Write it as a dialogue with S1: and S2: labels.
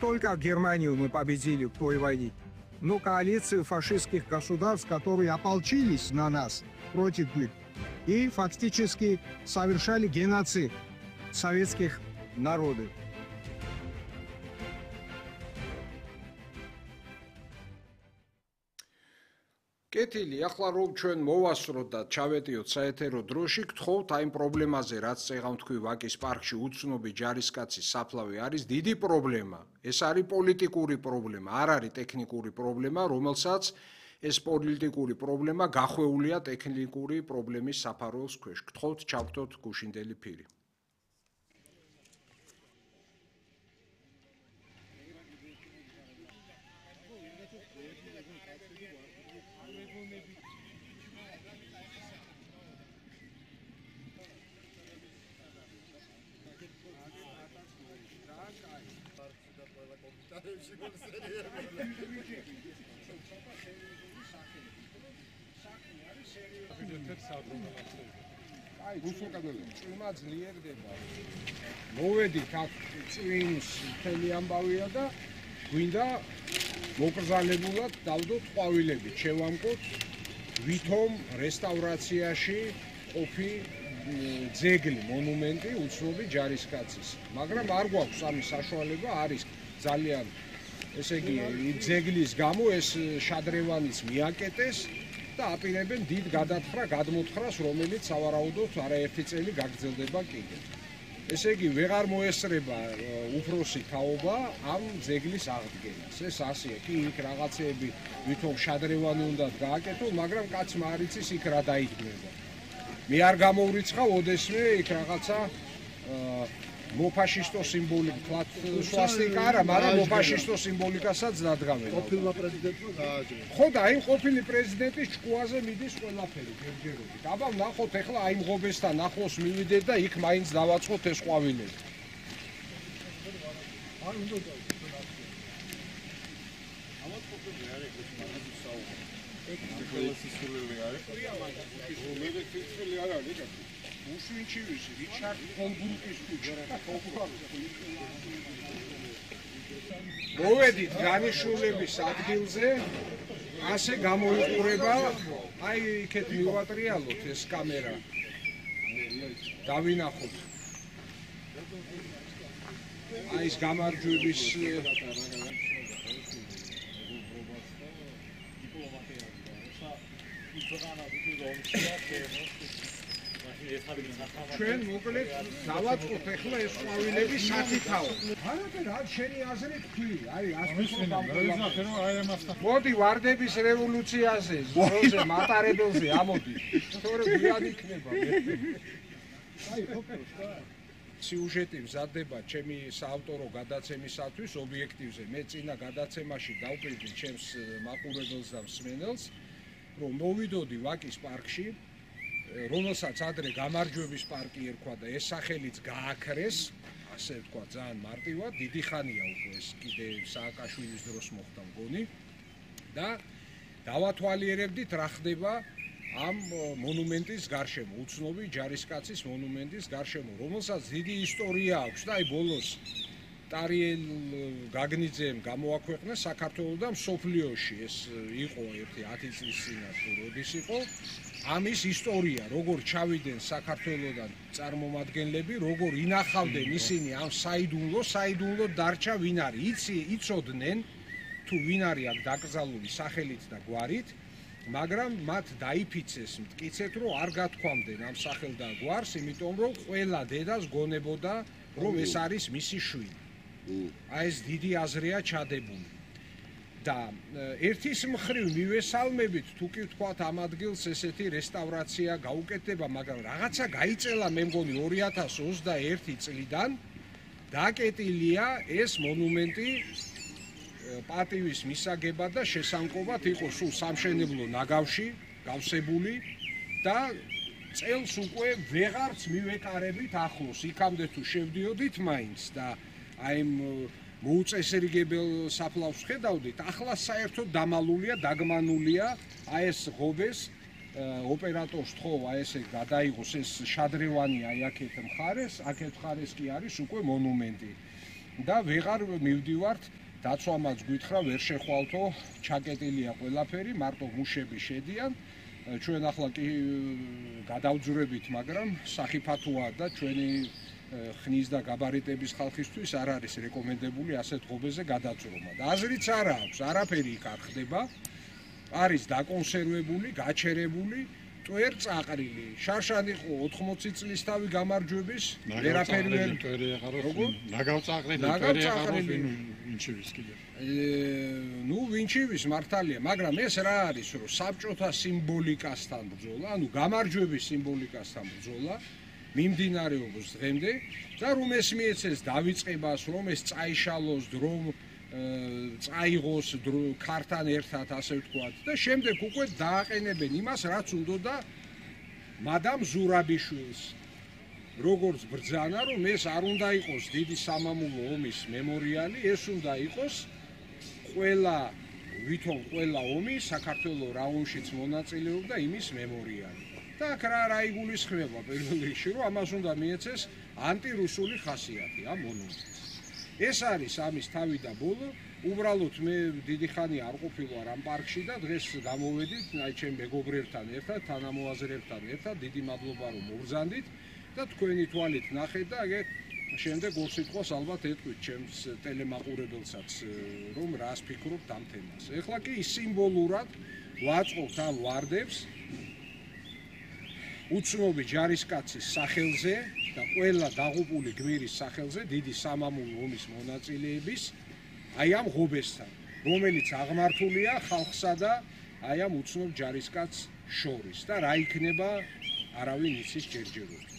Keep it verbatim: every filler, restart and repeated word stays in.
S1: Только Германию мы победили в той войне. Но коалиция фашистских государств, которые ополчились на нас против них и фактически совершали геноцид советских народов.
S2: კეთილი, ახლა რომ ჩვენ მოვასწროთ და ჩავეტიოთ საეთერო დროში, გთხოვთ აი იმ პრობლემაზე, რაც წეღავ თქვი ვაკის პარკში უცნობი ჯარისკაცის საფლავი არის დიდი პრობლემა. ეს არის პოლიტიკური პრობლემა, არ არის ტექნიკური პრობლემა, რომელსაც ეს პოლიტიკური პრობლემა გახვეულია ტექნიკური პრობლემის საფარველს ქვეშ. გთხოვთ ჩავგდოთ გუშინდელი ფირი. აი, გუშინდელი წვიმა ძლიერდება. მოვედით აქ წვიმს მთელი ამბავია და გვინდა მოკრძალებულად დავდოთ ყვავილებით, შევამკოთ ვითომ რესტავრაციაში ყოფი ძეგლი, მონუმენტი უცნობი ჯარისკაცის. მაგრამ არ გვაქვს ამის საშუალება, არის ძალიან, ესე იგი, ძეგლის გამო ეს შადრევანიც მიაკეტეს და აპირებენ დიდ გადათხრა, გადმოთხრას, რომელიც სავარაუდოდ არაერთი წელი გაგრძელდება კიდევ. ესე იგი, ვეღარ მოესწრება უფროსი თაობა ამ ძეგლის აღდგენას. ეს ასეა, კი იქ რაღაცეები ვითომ შადრევანი უნდა გააკეთო, მაგრამ კაცმა არ იცის იქ რა დაიდგმება. მე არ გამოვრიცხავ ოდესმე იქ რაღაცა მოფაშისტო სიმბოლიკა, თქვათ სვასტიკა არა, მაგრამ მოფაშისტო სიმბოლიკასაც დადგამენ.
S3: ყოფილმა პრეზიდენტმა გააჭირა.
S2: ხო და აი ყოფილი პრეზიდენტის ჭკუაზე მიდის ყველაფერი ჯერჯერობით. აბა ნახოთ ახლა აი მღობესთან ახლოს მივიდეთ და იქ მაინც დავაწყოთ ეს ყვავილები.
S3: არ უნდა დავიწყოთ. ამათ ყოფილი არის ეს მაგაზი საუბარი. ეგ ხელისისული არის. მე მე ფიქრობდი არ არის და
S2: უშვინჩივის რიჩარდ ჰოლბრუკის ქუჩა. მოვედით განიშნულების ადგილზე, ასე გამოიყურება, აი იქეთ მივატრიალოთ ეს კამერა. დავინახოთ. აი ეს გამარჯვების ჩვენ მოკლედ დავაწყოთ ახლა ეს ყვავილები სათითაო. არაფერ არ შენი აზრი თქვი, აი ასე რომ მოდი ვარდების რევოლუციაზე, ზროზე, მატარებელზე ამოდი. თორე გვიან იქნება. აი ყოფილს სიუჟეტი მზადდება ჩემი საავტორო გადაცემისათვის ობიექტივზე. მე წინა გადაცემაში დავპირდი ჩემს მაყურებელს და მსმენელს, რომ მოვიდოდი ვაკის პარკში, რომელსაც ადრე გამარჯვების პარკი ერქვა და ეს სახელიც გააქრეს, ასე ვთქვა, ძალიან მარტივად, დიდი ხანია უკვე ეს კიდე სააკაშვილის დროს მოხდა მგონი და დავათვალიერებდით რა ხდება ამ მონუმენტის გარშემო, უცნობი ჯარისკაცის მონუმენტის გარშემო, რომელსაც დიდი ისტორია აქვს და აი ბოლოს ტარიელ გაგნიძემ გამოაქვეყნა საქართველოსთან მსოფლიოში, ეს იყო ერთი ათი წლის წინათ თუ როდის იყო ამის ისტორია, როგორ ჩავიდნენ საქართველოსთან წარმომადგენლები, როგორ ინახავდნენ ისინი ამ საიდუმლო, საიდუმლო დარჩა ვინ არის, იცი, იცოდნენ თუ ვინ არის აქ დაკრძალული სახელით და გვარით, მაგრამ მათ დაიფიცეს მტკიცეთ, რომ არ გათქვამდნენ ამ სახელ და გვარს, იმიტომ რომ ყველა დედას გონებოდა, რომ ეს არის მისი შვილი. აი ეს დიდი აზრია ჩადებული. და ერთის მხრივ მივესალმებით თუ კი ვთქვათ ამ ადგილს ესეთი რესტავრაცია გაუკეთდება, მაგრამ რაღაცა გაიწელა მე მგონი ორი ათას ოცდაერთი წლიდან დაკეტილია ეს მონუმენტი პატივის მისაგებად და შესამკობად იყო სულ სამშენებლო ნაგავში გავსებული და წელს უკვე ვეღარც მივეკარებით ახლოს, იქამდე თუ შევდიოდით მაინც და აი მოუწესრიგებელ საფლავს ხედავდით, ახლა საერთოდ დამალულია, დაგმანულია, აი ეს ღობეს ოპერატორს თხოვ, აი ესე გადაიღოს ეს შადრევანი აი აქეთ მხარეს, აქეთ მხარეს კი არის უკვე მონუმენტი. და ვეღარ მივდივართ დაცვამაც გითხრა ვერ შეხვალთო ჩაკეტილია ყველაფერი მარტო მუშები შედიან ჩვენ ახლა კი გადავძურებით მაგრამ სახიფათოა და ჩვენი ხნის და გაბარიტების ხალხისთვის არ არის რეკომენდებული ასეთ ღობეზე გადაწვრომა და აზრიც არ აქვს არაფერი იქ არ ხდება არის დაკონსერვებული გაჩერებული ტვერ წაყრილი შარშან იყო ოთხმოცი წლის თავი გამარჯვების ვერაფერი ვერ
S3: როგორ ნაგავწაყრილი ტვერი აღარ ვინჩივის კიდე
S2: ნუ ვინჩივის მართალია მაგრამ ეს რა არის რომ საბჭოთა სიმბოლიკასთან ბრძოლა ანუ გამარჯვების სიმბოლიკასთან ბრძოლა მიმდინარეობს დღემდე და რომ ეს მიეცეს დავიწყებას რომ ეს წაიშალოს რომ წაიღოს ქართან ერთად ასე ვთქვათ და შემდეგ უკვე დააყენებენ იმას რაც უნდოდა მადამ ზურაბიშვილს როგორც ბრძანა რომ ეს არ უნდა იყოს დიდი სამამულო ომის მემორიალი ეს უნდა იყოს ყველა ვითომ ყველა ომი საქართველოს რა ომშიც მონაწილეობდა იმის მემორიალი და აქ რა რა იგულისხმება პირველ რიგში რომ ამას უნდა მიეცეს ანტირუსული ხასიათი ამ მონუმენტს ეს არის ამის თავი და ბოლო უბრალოდ მე დიდი ხანი არ ყოფილვარ ამ პარკში და დღეს გამოვედით აი ჩემ მეგობრებთან ერთად თანამოაზრეებთან ერთად დიდი მადლობა რომ მოვბრძანდით და თქვენი თვალით ნახეთ და ეგ შემდეგ ორ სიტყვას ალბათ ეტყვით ჩემს ტელემაყურებელსაც რომ რას ფიქრობთ ამ თემას ეხლა კი სიმბოლურად ვაწყობთ ამ ვარდებს უცნობი ჯარისკაცის სახელზე და ყველა დაღუპული გმირის სახელზე დიდი სამამულო ომის მონაწილეების აი ამ ღობესთან რომელიც აღმართულია ხალხსა და აი ამ უცნობ ჯარისკაცს შორის და რა იქნება არავინ იცის ჯერჯერობით